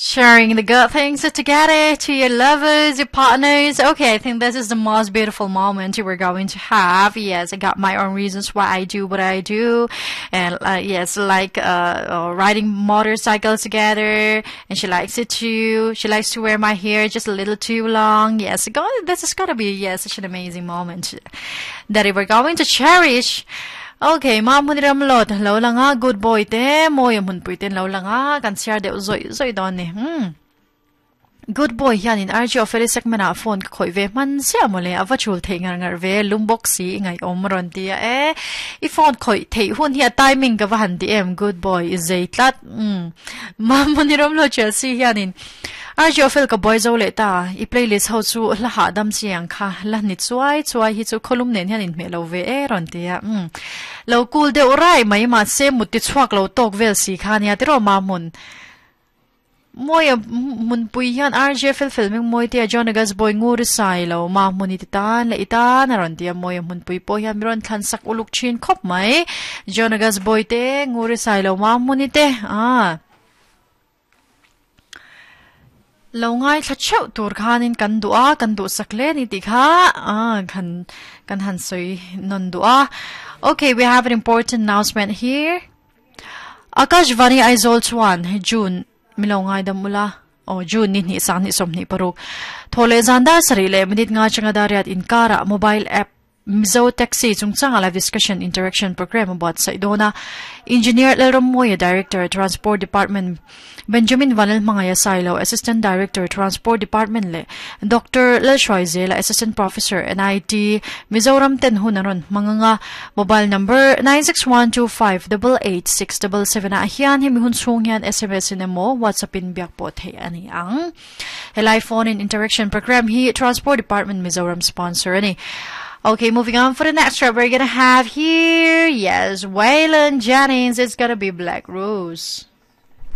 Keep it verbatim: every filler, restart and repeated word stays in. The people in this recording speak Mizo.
Sharing the good things together to your lovers, your partners. Okay, I think this is the most beautiful moment we're going to have. Yes, I got my own reasons why I do what I do. And uh, yes, like uh, uh, riding motorcycles together. And she likes it too. She likes to wear my hair just a little too long. Yes, go, this is gonna be, yes, such an amazing moment that we're going to cherish. Okay, ma mun ram lot lo langa good boy te moi mun pui ten lo langa kan share deuh zoi zoi don ni hmm good boy hian in R G official segment a phone ka khoi ve man sia mole ava chul thei ngar ngar ve lumbox si ngai om ron tia e i phone khoi thei hun hi timing ka va han ti em good boy is zei tlat um ma mun ram lo Chelsea hian in R G official ka boy zo le ta i playlist ho chu la ha dam chiang kha la ni chuai chuai hi chu kholum nen hian in me lo ve e ron tia um lo cool de rai mai ma se muti chuak lo tok vel si kha nia tiro ma mun moi mun pui hian R J fel fel ming moi tia John Agas boy ngur sai lo ma muni ti tan le ita na ron tia moi mun pui po hian miron thlan sak uluk chin khop mai John Agas boy te ngur sai lo ma muni te a lo ngai thla cheu tur khanin kan du'a kan du sakle ni ti kha a kan kan han soi non du'a. Okay, we have an important announcement here. Akashvani Aizawl chuan June milongai damula o June ni ni sang ni som ni paruk thole zanda sari le minute nga changa dariat inkara mobile app Mizo Taxi chungchang live discussion interaction program about Saidona Engineer Lalram Moya Director Transport Department Benjamin Vanel Mangaya Silo Assistant Director Transport Department le Doctor Lalshoi Zela Assistant Professor N I T Mizoram ten hunaron manganga mobile number nine six one two five eight eight six seven seven a hian hemi hun chung hian S M S in emo WhatsApp in biak po thei ani ang helai phone in interaction program hi Transport Department Mizoram sponsor ani. Okay, moving on for the next track we're gonna have here, yes, Waylon Jennings, it's gonna be Black Rose.